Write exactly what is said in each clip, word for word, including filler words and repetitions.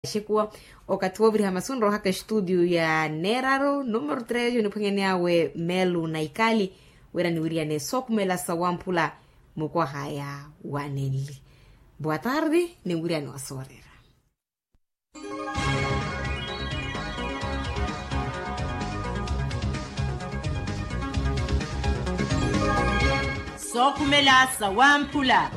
Xekuwa okathi wooviriha masu nrohaka estudio ya neeraru numero tres oniphwanyaneyawe melu na ikali, wira niwiriyane sookhumela sawamphula mukwahaya wanenli. Boa tarde. Ninwiriyane wasoorera. Sookhumela sawamphula.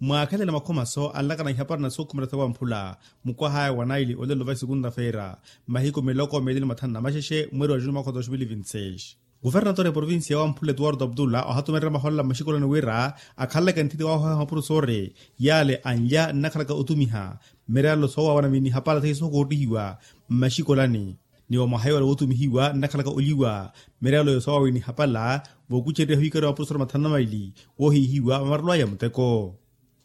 Mwaakhelela makhomaso anlakana ihapari na sookhumela sawamphula, mukwahaya wa naili olelo va esekunta-feira, mahiku miloko meeli ni mathanu na maxexe mweeri wa juni mwakha wa dois mil e vinte e seis. Kuvernatore ya provincia ya wamphula etuwarto abdullah ohatumererya mahoolela mmaxikolani wira akhaleleke nthiti waahooha mapurusori, yaale anlya nnakhalaka otumiha mireyalo soowawana vinihapala seiye sookootihiwa mmaxikolani. Ni wa mwaha yoola wootumihiwa nnakhalaka olyiwa mireyalo soowawana vinihapala, vookucererya ohikariwa mapurusori mathanu na maili woohihiwa vamarelo aya muteko.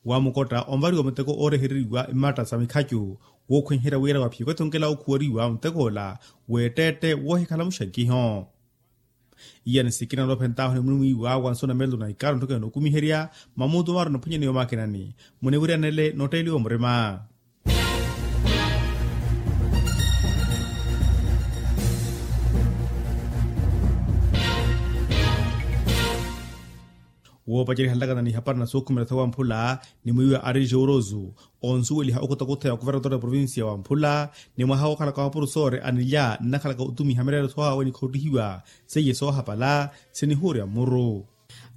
Wamukotta onvariwa muteko oorehereriwa mmatta sa mikhacu, wookhwenherya wira waphiyeke othongela okhuwariwa mutek'ola w'etteette woohikhala muxankiho. Iyani sikina noophentaahu ni munimwiiwa wa nsuna melo na ikaaru ntthokela nookumiherya mamuutu maaro niphwanyaneya omaakinani, muniwiryanele nootteeliwa murima. Woopacerya halakana ni hapari na sookhumela sawamphula ni mwiiwa ari joorosu, onsuweliha okutakuta ya kuvernatora ya provincia ya wamphula ni mwaha wookhalaka wa mapurusori anilya nnakhalaka otumiha mireyalo soohawe nikhoottihiwa seiye soohapala sinihuurya mmuru.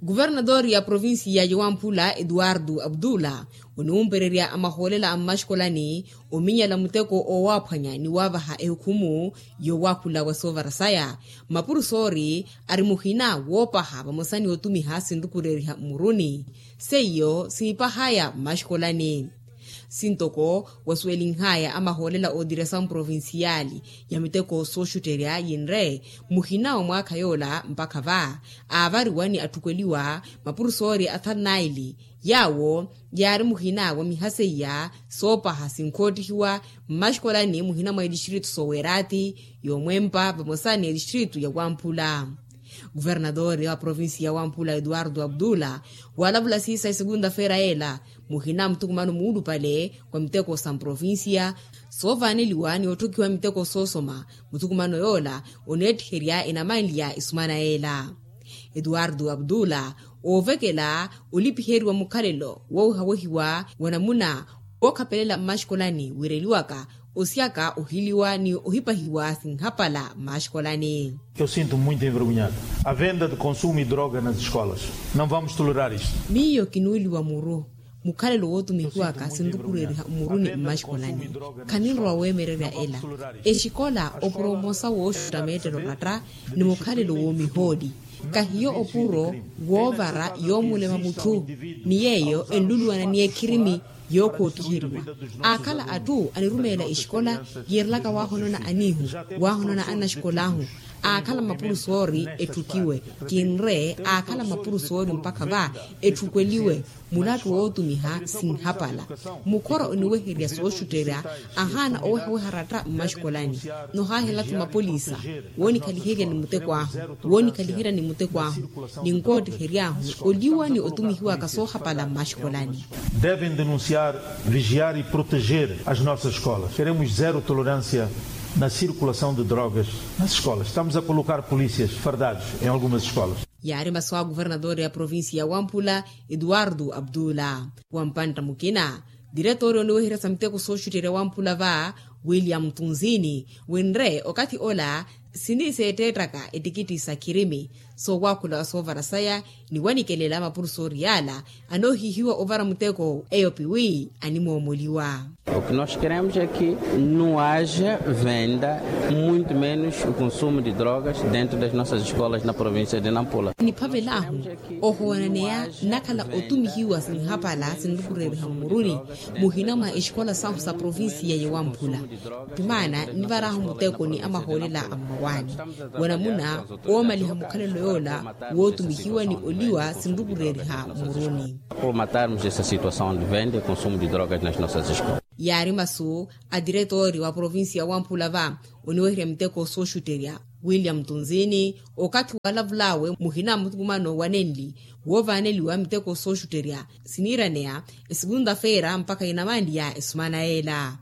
Kuvernatori ya provincia ya wamphula etuwartu abdula oniwumpererya amahoolela a mmaxikolani ominyala muteko oowaaphwanya ni waavaha ehukhumu yoowakhula wa soovara saya. Mapurusori ari muhina woopaha vamosa ni otumiha sinrukureeriha mmuruni seiyo siipahaya mmaxikolani. Sintoko wasuwelinhaya amahoolela ootiresa mprovinciali ya miteko sooxutterya yinre muhina wa mwaakha yoola mpakha va aavariwa ni atthukweliwa mapurusori athanu naili yaawo yaari muhina wa miha seiya soopaha sinkoottihiwa mmaxikolani muhina mwa etistritu soowerati yoomwempa vamosa ni etistritu ya wamphula. Kuvernatori wa provincia ya wamphula etuwartu abdula waalavula siisa esekunta-feira yeela muhina muthukumano muulupale wa miteko sa mprovincia soovaaneliwa ni otthukhiwa miteko soosoma. Muthukumano yoola oneettiherya enamanliya esumana yeela etuwartu abdula oovekela olipiheriwa mukhalelo woowehawehiwa wa namuna wookhapelela mmaxikolani wiireliwaka osiyaka ohiliwa ni ohipahiwa sinhapala mmaxikolani. Eu sinto muito envergonhado a venda de consumo e droga nas escolas. Não vamos tolerar isto. Miyo kinuuliwa muru mukhalelo wootumihiwaka sinrukureeriha mmuruni mmaxikolani. Khaninrowa weemererya ela exikola opuro omosa wooxutta meettelo ratta ni mukhalelo woomihooli kahiyo opuro woovara yoomulema mutthu ni yeeyo enluluwana ni ekhirimi yookhootiheriwa. Aakhala atthu anirumeela exikola yiirelaka waahonona aniihu waahonona annaxikolaahu aakhala mapurusori etthukiwe kinre aakhala mapurusori mpakha va etthukweliwe mulattu wootumiha sinhapala. Mukhora oniweherya sooxutterya ahaana owehaweha ratta mmaxikolani nohaahela-tho mapolisa woonikhaliherya ni muteko ahu woonikhaliherya ni muteko ahu ninkoottihery'ahu oliwa ni otumihiwaka soohapala mmaxikolani. Devem denunciar, vigiar e proteger as nossas escolas. Queremos zero tolerância na circulação de drogas nas escolas. Estamos a colocar polícias fardados em algumas escolas. Yaari masu a kuvernatori ya provincia ya wamphula etuwartu abdula. Wa mpantta mukina diretori oniweherya sa miteko sooxutterya wamphula va william tunzini winre okathi ola siniseetteettaka ettikitti sa khirimi soowakhula wa soovara saya ni wanikelela mapurusori yaala anoohihiwa ovara muteko eyo piwi animoomoliwa. O que nós queremos é que não haja venda muito menos o consumo de drogas dentro das nossas escolas na província de nampula. Niphavel'ahu ohowaneya nnakhala otumihiwa sinhapala sinrukureeriha mmuruni muhina mwa exikola sahu sa provincia ya wamphula. Timaana nivar'ahu muteko ni amahoolela a mmawaani wa namuna oomaliha mukhalelo yoola wootumihiwa ni oliwa sinrukureeriha mmuruni. Por matarmos essa situação de venda e consumo de drogas nas nossas escolas. Yaari masu a diretori wa provincia ya wamphula va oniweherya miteko sooxutterya. William tunzini okathi waalavul'awe muhina a muthukumano wa nenli woovaaneliwa miteko sooxutterya siniiraneya esukunta-feera mpakha inamanliya esumana yeela.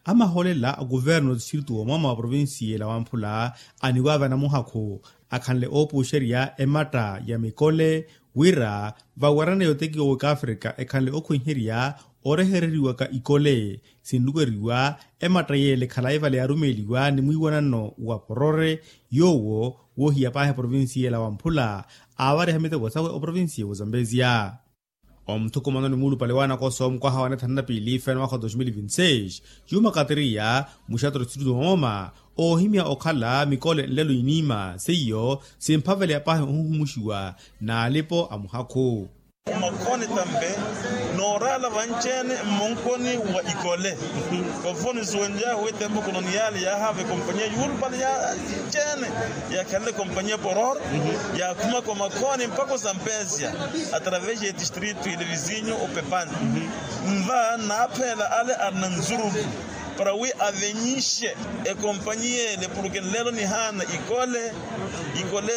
Amaholela a kuvernu a tistritu woomooma wa provincia ela wamphula aniwaave anamuhakhu akhanle oopuuxerya ematta ya mikole wira vawerana yotekiwa w'ekafrika ekhanle okhwenherya orehereriwaka ikole sinlukeriwa ematta yeele khalayi vale yarumeeliwa ni mwiiwanano wa porore yoowo woohiya paahi provincia ela wamphula aavariha miteko sawe oprovincia w'ozambezia. Omuthukumano ni muulupale w'anakoso mukwaha wa nethanu na piili feno mwakha wa dos mil vinti seis yuumakatiriya muxatoro situtu mooma oohimya okhala mikole nlelo iniima seiyo simphaveleya paahi ohuhumuxiwa n'alipo a muhakhu. Omakhoni tampe nooraala vanci-ene mmonkoni wa ikole. Konfoni suwenlyahu etempo koloniyali yaahaava ekompaniya yuulupale ya nci-ene yaakhanle ekompaniya poror yaakhumaka omakhoni mpakha osampezya atravesi ya etistritu ile visinyu opepani. Nva naaphela ale arina nzuruku para wi avenyixe ekompaniya ele porke nlelo nihaana ikole ikole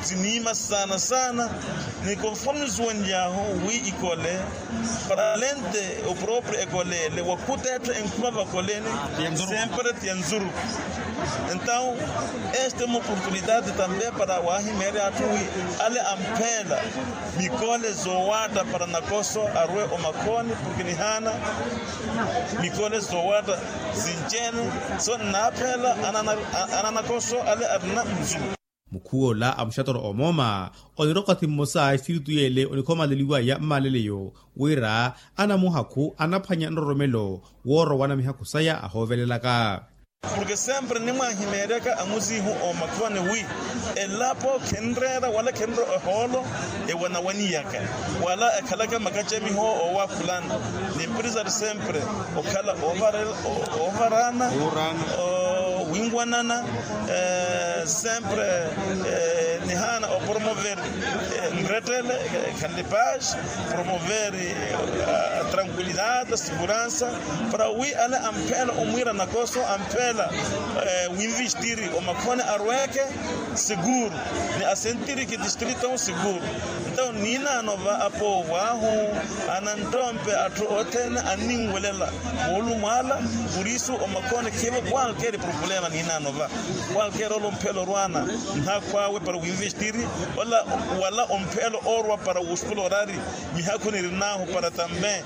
siniima saana saana. Ni konforme suwenlyahu wi ikole para lente oproprio ekole ele wakhuta etthu enkhuma vakoleni sempre ti ya nzuruku. Entaw este uma oportunidade tampe para wahimeerya atthu wi ale ampheela mikole zoowaatta para nakoso arwe omakhoni porke nihaana mikole zoowaatta sinci-ene. So nnaaphela ananakoso ale arina nzuruku. Mukhuwola a muxatoro omooma onira okathi mmosa esitiritu yeele onikhomaleliwaya mmaleleyo wira anamuhakhu anaphwanya nroromelo woorowana mihakhu saya ahoovelelaka. Porke sempre nimwahimeeryaka amuzihu omakhoni wi elapo khenreera wala khenreera ehoolo ewanawaniyaka wala ekhalaka makacamiho oowakhulana. Ni empresari sempre okhala ovarana winwanana sempre nihaana opromover nrettele ekhanle paz promover tranquilidade seguransa para wi ale ampheela omwiira nakoso ampheela winvistiri omakhoni arweke seguru ni asentiriki distrito seguru. Entaw niinaano va apoovwaahu anantompe atthu othene anninwelela moolumo ala. Purisu omakhoni khiivo kwalkeri problema niinaano va kwalkeri ole ompheela orwana nhakhwaawe para winvistiri wala ompheela orwa para wosplorari mihakhu nirin'ahu para tambe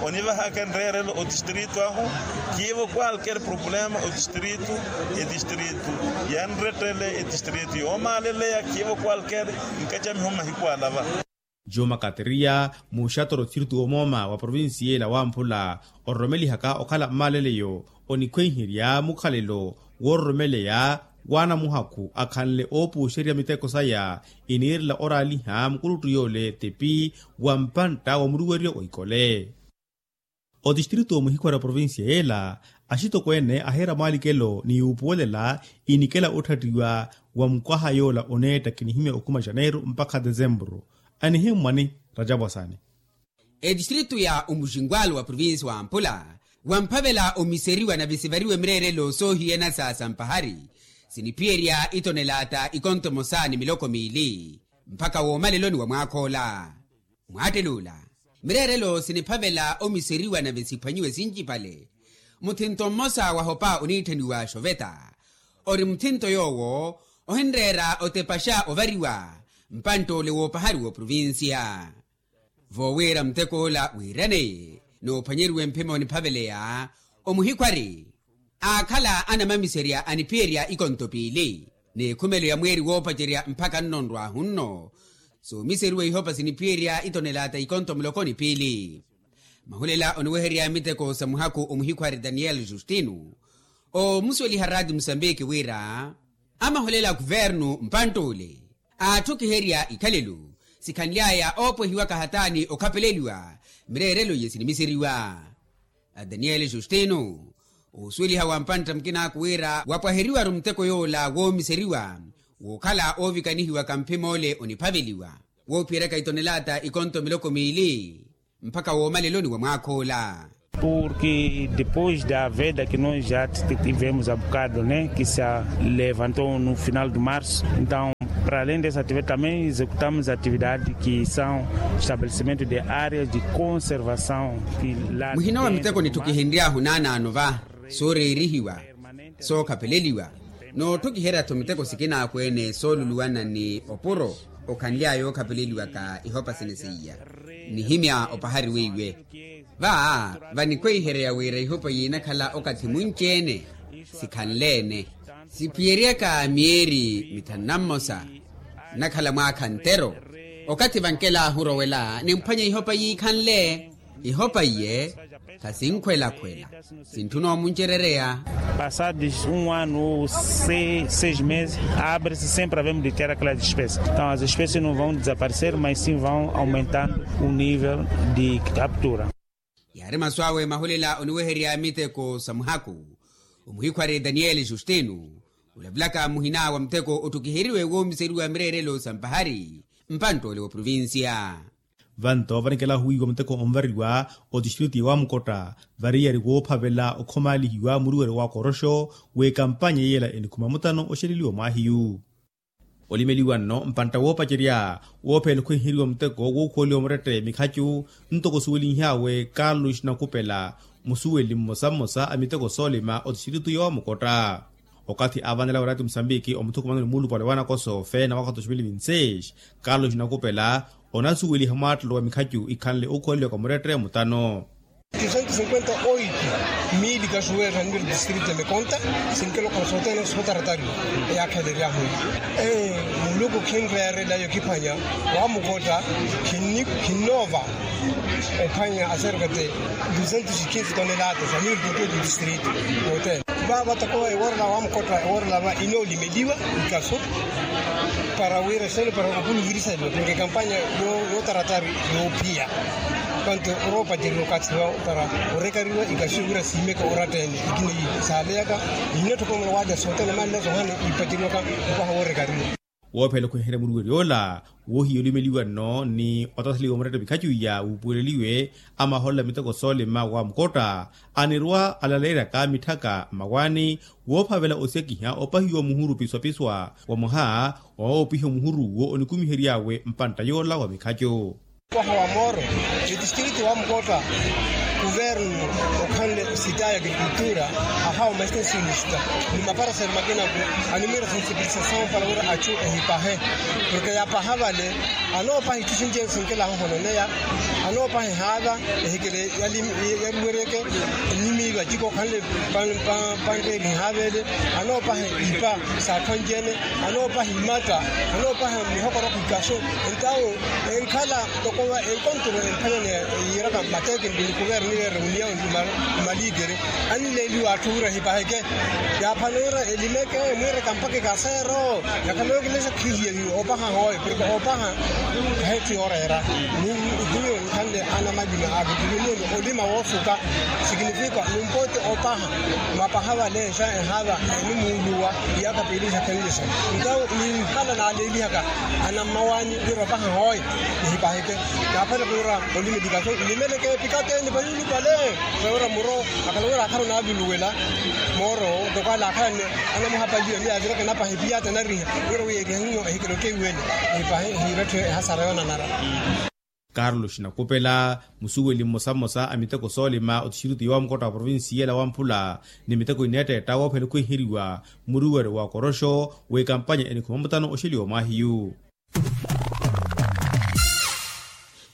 onivahaka nreerelo otistrito ahu. Khiivo kwalkeri problema otistrito etistrito yanrettele etistrito yoomaaleleya khiivo kwalkeri nkacamiho mahiku alava. Juma kateriya muxatoro tiritu omooma wa provincia ela wamphula ororomelihaka okhala mmaleleyo onikhwenherya mukhalelo woororomeleya w'anamuhakhu akhanle oopuuxerya miteko saya iniirela oraaliha mukuluttu yoole tepi wa mpantta wa muruweryo wa ikole. Otistritu omuhikhwari a provincia ela axitokweene ahiira mwaalikelo ni yuupuwelela inikela otthattiwa wa mukwaha yoola oneetta kinihimya okhuma janeiru mpakha desempuru. Anihimmwani rajapu asaani. Etistritu ya omuxinkwalo wa provincia wa ampula wamphavela omiseriwa na visivariwe mireerelo soohiyana sa sampahari siniphiyerya itonelaata ikonto emosa ni miloko miili mpakha woomaleloni wa mwaakh'ola. Mwaattel'ula mireerelo siniphavela omiseriwa nave siphwanyiwe sincipale. Muthinto mmosa wahopa oniitthaniwa xoveta ori muthinto yoowo ohinreera otepaxa ovariwa mpantt'ole woopahari w'oprovincia. Voowira mutek'ola wiiraneye noophwanyeriwe mphimo niphaveleya omuhikhwari aakhala anamamiserya aniphiyerya ikonto piili n'ekhumelo ya mweeri woopacerya mpakha nno nrwaahu nno soomiseriwa ihopa siniphiyerya itonelaata ikonto muloko ni piili. Mahulela oniweherya miteko sa muhakhu omuhikhwari daniel justino oomusuweliha raati musambiki wira amahulela a kuvernu mpantt'ule aatthukiherya ikhalelo sikhanly'aya oopwehiwaka hataani okhapeleliwa mireerelo iye sinimiseriwa. Daniel justino oosuweliha wa mpantta mukin'aku wira wapwaheriwaru muteko yoola woomiseriwa wookhala oovikanihiwaka mphim'ole oniphaveliwa woophiyeryaka itonelaata ikonto miloko miili mpakha woomaleloni wa mwaakh'ola. Porque depois da veda que nós já tivemos a bocado né que se levantou no final de março, então para além dessa atividade também executamos atividade que são estabelecimento de áreas de conservação. Muhina wa miteko nittukihenryahu naanaano va sooreerihiwa, sookhapeleliwa, noottukiherya-tho miteko sikina akweene sooluluwana ni opuro okhanly'aya ookhapeleliwaka ihopa sene seiya. Nihimya opahari weiwe va vanikhweiherya wira ihopa yiinakhala okathi munci-ene sikhanle-ene, siphiyeryaka myeeri mithanu na mmosa nnakhala mwaakha ntero. Okathi vankelahu orowela nimphwanya ihopa yiikhanle. Ihopa iye khasinkhwelakhwela, sintthuna omuncerereya. Passados um ano ou seis meses abre-se sempre havemos de ter aquelas espécies, então as espécies não vão desaparecer mas sim vão aumentando o nível de captura. Yaari masu awe mahulela oniweherya miteko sa muhaku. Omuhikhwari daniel justino olavulaka muhina wa muteko ottukiheriwe woomiseriwa mireerelo sa mpahari mpantt'ole wa provincia. Vanto vanikelahu wiiwa muteko onvariwa otistritu ya wamukotta variyari woophavela okhomaalihiwa muruweri wa koroxo w'ekampanya yeela enikhuma mutano oxeleliwa mwaahiyu. Olimeliwa nno mpantta woopacerya woopheela okhwenheriwa muteko wookhuweliwa murette mikhacu ntoko osuwelinhyawe carlos nakupela musuweli mmosa mmosa a miteko soolima otistritu ya wamukotta. Okathi aavanela weraati musambiki omuthukumano ni muulupale wa nakoso feena mwaka wa dos mil vinti seis, carlos nakupela onasuweliha mwaattelo wa mikhacu ikhanle ookhuweliwaka murette mutano. Duzentos cinquenta oito mili kasuweerha nniru distrito ya mikonta. Sinkelo khasootene sotaratari eyaakheleryahu. Muluku khinreerela yokiphwanya wamukotta. Khinnoova ophwanya aserkate duzentos e quinze tonelata sa mili tututu distrito. Yootene vava toko eworela wamukotta eworela va inoolimeliwa ikaso para wira sene para okuluvirisaliwa porke kampanya yootaratari yoophiya. Panto oroopacerya okathi wa para orekariwa ikaso wira siimeke oratta-ene ikina saaleyaka. Ninno toko mulawaja sootene manle sohani ipaceriwaka mpaha woorekariwa. Woophela okhweherya muruwerya ola woohiya olimeliwa nno ni otathaliwa muretta mikhacu iya wuupuweleliwe amahoolela miteko soolima wa mukotta anirwa alaleeryaka mitthaka mmawaani woophavela osekiha opahiwa muhuru piswapiswa wa mwaha wa woopiha omuhuru uwo onikumihery'awe mpantta yoola wa mikhacu. Waha wa mooro etistritu wa mukotta kuvernu okhanle sita ya agrikultura ahawa mastensionista ni maparaselo makinaku animwira sensipilisasao para wira achu ehipahe porke yapaha vale anoopaha itthu sinci ene sinkelahu ohononeya anoopaha ehaava ehikele yaliweryeke ennimi vaciko okhanle panreeriha vele anoopaha ipa saakhwanci ene anoopaha imatta anoopaha mihokoroko ikaso entawo enkhala toko va enkonturo emphanyani yiiraka mateke nikuvernu niveere oniyawe ni malikere annileeliwa atthu wira ehipaheke yaaphana wira elimeke emwiiraka mpakha ikaseero yakhala yookilexa khihiye opaha hooyo porke opaha khahetthu yooreera ni hiyo nkhanle anamalima aakituveniwe ni olima woosuka sikinifika numpote opaha mapaha vale xa ehaava enimuuluwa iyaaka piili xakhenle xa ntawo ninhala naaleelihaka anammawaani wira opaha hooyo nihipaheke naaphale kuura olimeli kaso nlimeleke pikateni vayulupale. Sawira muro akhala wira akhala onaavuluwela mooro toko ale akhala anamuhapaliwa ni yaaviraka enapaha epiyata enariha wira wi eriha hiyo ehikela okeiwele ehipahe ehiiretthe ehasara yoonanara. Carlos nakupela musuweli mmosa mmosa a miteko soolima otistritu ya wamukotta wa provincia ela wamphula ni miteko ineetteetta woophela okhwiheriwa muruweri wa koroxo w'ekampanya enikhuma mutano oxeliwa mwaahiyu.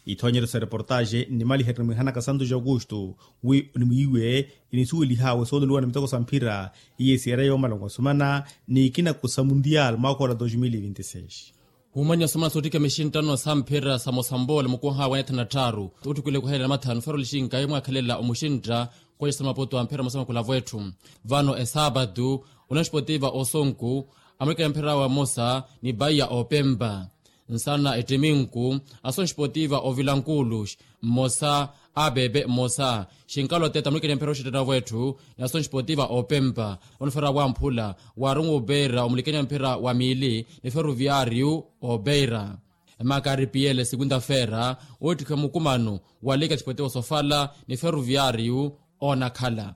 Ithoonyeryo sa reportaaxe nnimaliherye mwihanaka santos augusto wi onimwiiwe inisuwelih'awe sooluliwa ni miteko sa mphira iye siyereya yoomala onkosumana n'ikinaku sa mundial mwaakha ola dos mil e vinti seis. Wumanya osumana soottikha mixinttano sa mphira sa mosambola mukuh'awe anathana tthaaru otthukwile kuhelela mathanu faro lixinkayi mwaakhelela omuxintta. Kwexa sa maputo a mphira mmosa makulavo etthu vano esaapatu, union sportiva osonku, amulikana mphira wa mmosa ni baiya opempa nsana ettiminku, ason sportiva ovilankulux mmosa, apepe mmosa xinkalo tete amulikana mphira oxittanavo etthu ni ason sportiva opempa. Onifera wamphula waaron wopeira omulikana mphira wa miili ni feruviariu opeira. Emakaripiyele sikwinta feera oottikhiwa mukumano wa lika txipote osofala ni feruviyaariyu oonakhala.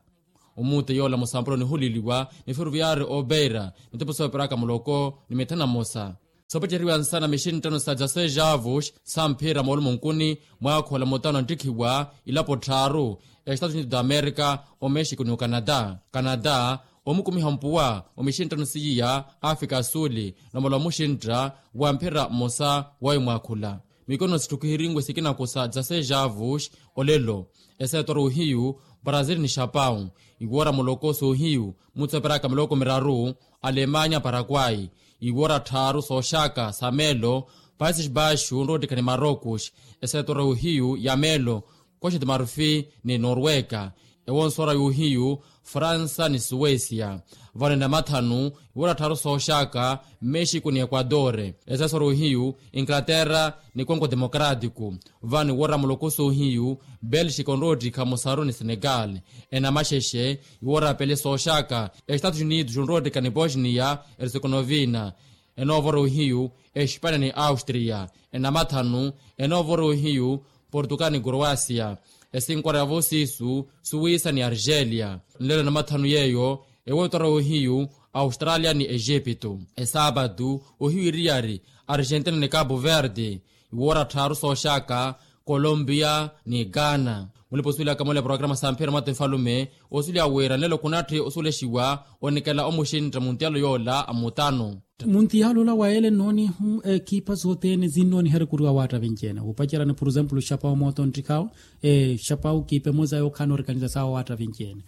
Omuute yoola musampuro nihuliliwa ni feruviyaari opeira mitepo sooperaka muloko ni mithana mmosa. Soopaceriwa nsana mixinttano sa dzaseis avos samphira moolumo nkuni mwaakhola mutano anttikhiwa ilapo tthaaru, estados unidos da america, omexico ni ocanada. Canada omukumiha mpuwa omixinttano siiya africa asuli nomala omuxintta wa mphira mmosa wawe mwaakhula. Mikono sitthukihirinwe sikinaku sa dzaseis avos olelo. Eseetoro ohiyu brazil ni xapau iwoora muloko soohiyu mutsoperaka miloko miraru, alemanya parakwai iwoora tthaaru sooxaka sa meelo, países baixos onroottikha ni marocos. Eseetoro ohiyu ya meelo, costa de marfil ni norwega. Ewonsoora yohiyu fransa ni suwesia. Vano enamathanu iwoora tthaaru sooxaka mexico ni equador. Eseesoro ohiyu inglaterra ni congo democrático. Vano iwoora muloko soohiyu belxica onroottikha musaru ni senegal. Enamaxexe iwoora pele sooxaka estados unidos onroottikha ni bosnia herzegovina. Enoovora ohiyu espania ni austria. Enamathanu enoovora ohiyu portugal ni croacia. Esinkora yavo siisu suwisa ni argelia. Nlelo enamathanu yeeyo ewoottora ohiyu australia ni egipto. Esaapatu ohiyu iriyari argentina ni capo verde. Iwoora tthaaru sooxaka colombia ni ghana. Mulipa osuwelaka mole programa samphira mwatte nfalume osuweliwa wira nlelo khunatthi osuwelexiwa onikela omuxintta muntiyalo yoola a mutano. Muntiyalo ola wa ele nnoonihu ekipa sothene sinnooniha erikuriwa waatta vinci-ene wuupacerani por example xapau mooto nttikhawo. Xapau kipa emosa yookhala noorikaniza sawe waatta vinci-ene.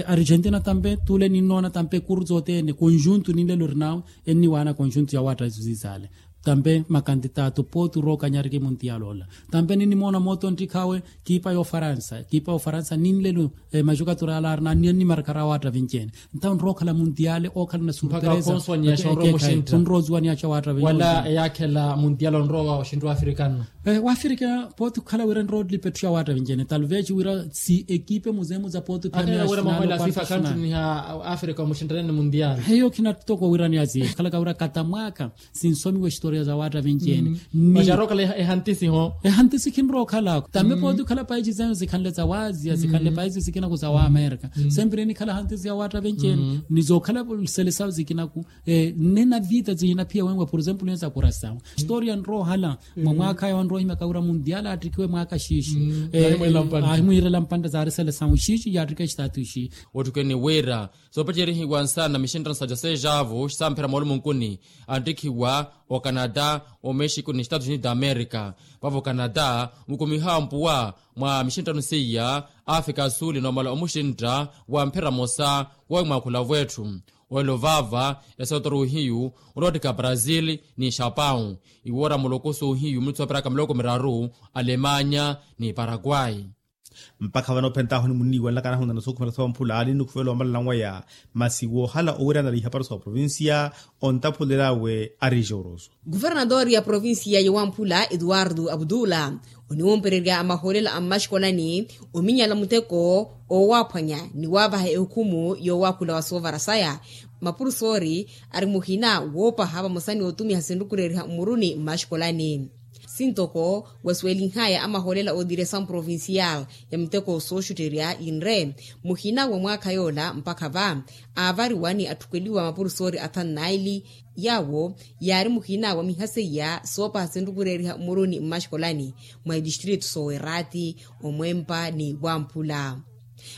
Argentina tampe tule ninnoona tampe ekuru sothene conjunto ninlelo erinawe enniwaana conjunto ya waatta isu sisaale. Tampe makantitato pooti orookanyariki muntiyalo ola. Tampe ninnimoona mooto nttikhawe kipa y'ofaransa kipa y'ofaransa ninlelo maxukatura ala arina annimarkara waatta vinci-ene. Ntawo nrookhala muntiyale ookhala na surpresa. Nroosiwa niyaxa waatta vinci-ene wala eyaakhela muntiyale onrowa oxintta wafirikano. Wafirika pooti okhala wira nroolipa etthu ya waatta vinci-ene talvez wira si ekipe muzemuza pooti okhala wira mwahola fifa kantu niha afirika omuxintta nene muntiyale. Heyo khina toko wira niyasi khalaka wira katamwaka sinsomiwa exitoriya za waatta vinci-ene. Ni maxarookhala ehantisi ho. Ehantisi khinrookhalako tambe pooti okhala paisi zenu zikhanle za waaziya zikhanle paisi zikinaku za waamerika. Sempiri enikhala hantisi ya waatta vinci-ene ni zookhala selesawu zikinaku. Nne na vita zinaphiya wenwe por example neza kurasawu. Exitoriya nroohala mwa mwaakha ayo anroohimyaka wira mundial attikhiwe mwaaka xiixi. Ahimwiirela mpantta zaari selesawu xiixi yaattikha exitaatu ixi. Ottikweni wira soopacerihiwa nsana mixinttano sa dyaseis avos samphira moolumunkuni anttikhiwa ocanada, omexico ni estados unidos da america. Vavo ocanada mukumiha mpuwa mwa mixinttano seiya africa asuli noomala omuxintta wa mphira mosa wawe mwaakhula vwetthu. Olelo vaava esootoro ohiyu oloottika brazil ni xapau. Iwoora muloko soohiyu mulutsoperaka miloko miraru alemanya ni parakwai. Mpakha vano ophentahu nimuniiwanlaka anahunana sookhumela soophula aali nnukhuvela omalala nwaya. Masi woohala owirana ihaparo sa oprovincia ontaphulel'awe ari joros. Kuvernadori ya provincia ya wamphula etuwartu aputula oniwompererya amahoolela a mmaxikolani ominyala muteko oowaaphwanya ni waavaha ehukhumu yoowakhula wa soovara saya. Mapurusoori ari muhina woopaha vamosa ni otumiha sinrukureeriha mmuruni mmaxikolani. Sintoko wasuwelinhaya amahoolela ootiresamu provincial ya miteko sooxutterya yinre muhina wa mwaakha yoola mpakha va aavariwa ni atthukweliwa mapurusoori athanu naili. Yaawo yaari muhina wa miha seiya soopaha sinrukureeriha mmuruni mmaxikolani mwa itistritu soowerati omwempa ni wamphula.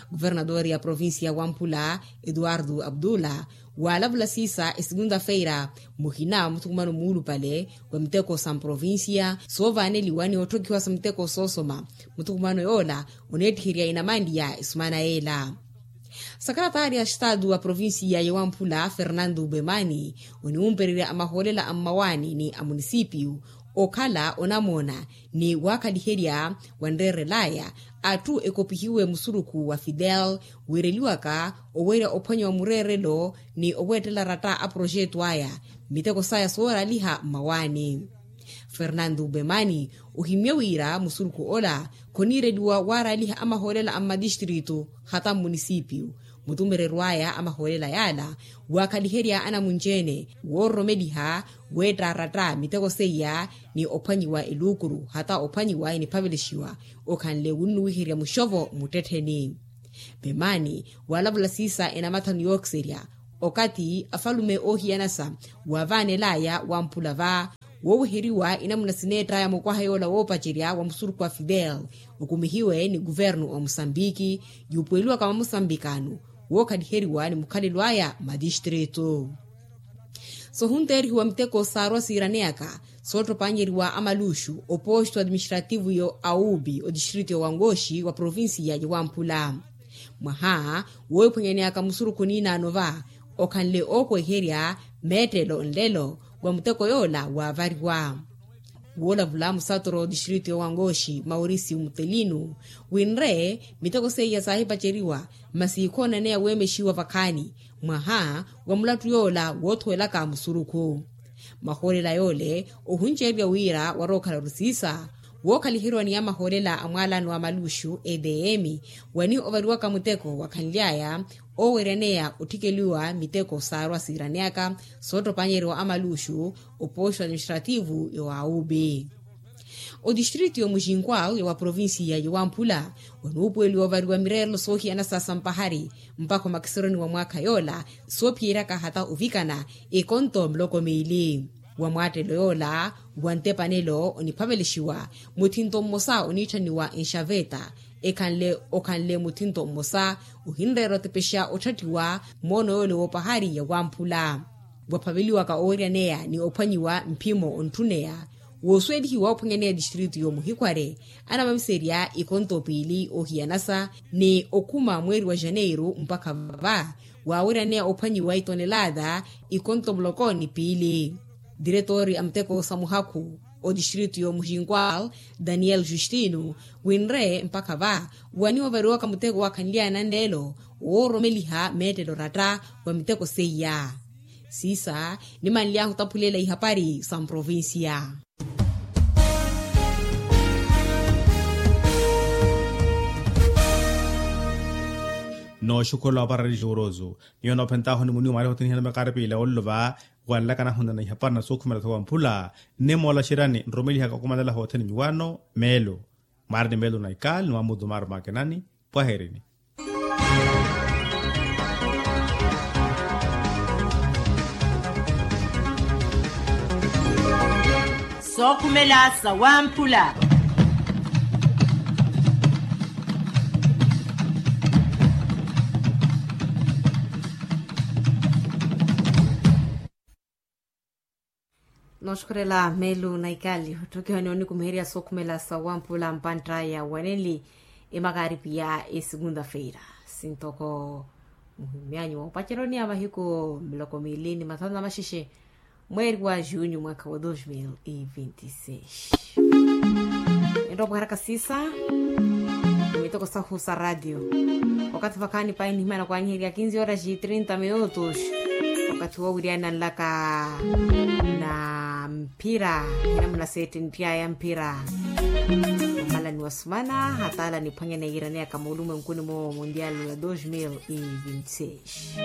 Kuvernadori ya provincia ya wamphula etuwartu aputula waalavula siisa esegunta feira muhina wa muthukumano muulupale wa miteko sa mprovincia soovaaneliwa ni otthokhiwa sa miteko soosoma. Muthukumano yoola oneettiherya inamanliya esumana yeela. Sakarataari a estatu wa provincia ya wamphula fernando bemani oniwumpererya amahoolela a mmawaani ni a munisipiyu okhala onamoona ni waakhaliherya wanreerelaya atthu ekopihiwe musurukhu wa fidel wiireliwaka owerya ophwanya wa mureerelo ni oweettela ratta a proxeto aya miteko saya sooraliha mmawaani. Fernando bemani ohimmye wira musurukhu ola khoniireliwa waaraliha amahoolela a mmatistritu hata mmunisipiyu mutumereryo aya a mahoolela yaala, waakhaliherya anamunci-ene woororomeliha weettaaratta miteko seiya, ni ophwanyiwa eluukuru hata ophwanyiwa eniphavelexiwa, okhanle wunnuwiherya muxovo muttettheni. Vemaani, waalavula siisa enamathanu yookiserya, okathi afalume oohiyanasa waavaanelaya wamphula va wooweheriwa inamuna sineettaya mukwaha yoola woopacerya wa musurukhu wa fidel, okumihiwe ni kuvernu wa musambiki, yuupuweliwaka mwa musambikano wookhaliheriwa ni mukhalelo aya matistrito. Sohunteerihiwa miteko saarwa siiraneyaka soottopanyeriwa amaluxu oposto administrativu yo aubi otistrito yo wangoxi wa provincia yo wamphula. Mwaha woohiphwanyaneyaka musurukhu niinaano va okhanle ookweherya meettelo nlelo wa muteko yoola waavariwa. Woolavula musatoro otistrito yo wangoxi maurisi mutelinu winre miteko seiya saahipaceriwa masi khoonaneya weemexiwa vakhaani mwaha wa mulattu yoola woothuwelaka musurukhu. Mahoolela yoole ohunceriwa wira warookhala orisiisa wookhaliheriwa ni amahoolela a mwaalano wa maluxu edm wani ovariwaka muteko wakhanly'aya ooweryaneya otthikeliwa miteko saarwa siiraneyaka soottopanyeriwa amaluxu oposto administrativu yo aubi. Otistrito yo muxinkwal yo wa provincia yo wamphula wanuupuweliwa ovariwa mireerelo soohiyana sa sampahari mpakha omakiseroni wa mwaakha yoola soophiyeryaka hata ovikana ekonto muloko miili. Wa mwaattelo yoola wa ntepanelo oniphavelexiwa muthinto mmosa oniitthaniwa enxaveta ekhanle okhanle muthinto mmosa ohinreera otepexa otthattiwa moono yoole woopahari ya wamphula. Waphaveliwaka oweryaneya ni ophwanyiwa mphimo ontthuneya woosuwelihiwa ophwanyaneya tistrito yo muhikhware anamamiserya ikonto piili ohiyanasa ni okhuma mweeri wa janeiru mpakha vava waaweryaneya ophwanyiwa itonelaata ikonto muloko ni piili. Diretori a muteko sa muhakhu otistrito yo muxinkwal daniel justino winre mpakha va wani ovariwaka muteko wakhanly'aya nanleelo woororomeliha meettelo ratta wa miteko seiya. Siisa nimanly'ahu otaphulela ihapari sa mprovincia. Nooxukhula oparari juurozu nyuwo noophentaahu ni muniwu maariha othene ihana makaari piila olluva wanlakana ahunana ihapari na sookhumela tho wamphula. Nne moolaxeryani nrumelihaka okumanela hothene nyuwano meelo mwaari ni meelo na ikaali ni mwamutu maari makenani. Pwaherini. Sookhumela sa wamphula. Nooxukhurela meelu na ikali otthokiwa ni onikumiherya sookhumela sa wamphula mpantta ya waneli emakaaripi ya esegunta feira sintoko muhimyanyu wa opaceroni ya mahiku miloko miili ni mathanu na maxexe mweeri wa junyu mwakha wa dos mil e vinti seis. Enropo haraka siisa mitoko sahu sa ratio. Wakathi vakhaani pahi nihimana kwanyiheriya kinzi horas e trinta minutos. Wakathi wowiriyana nlaka na mphira hina munaseettenttiyaya mphira omalani wa sumana hataala niphwanyana yiiraneyaka muulumwenkuni mu mundial wa dos mil e vinti seis.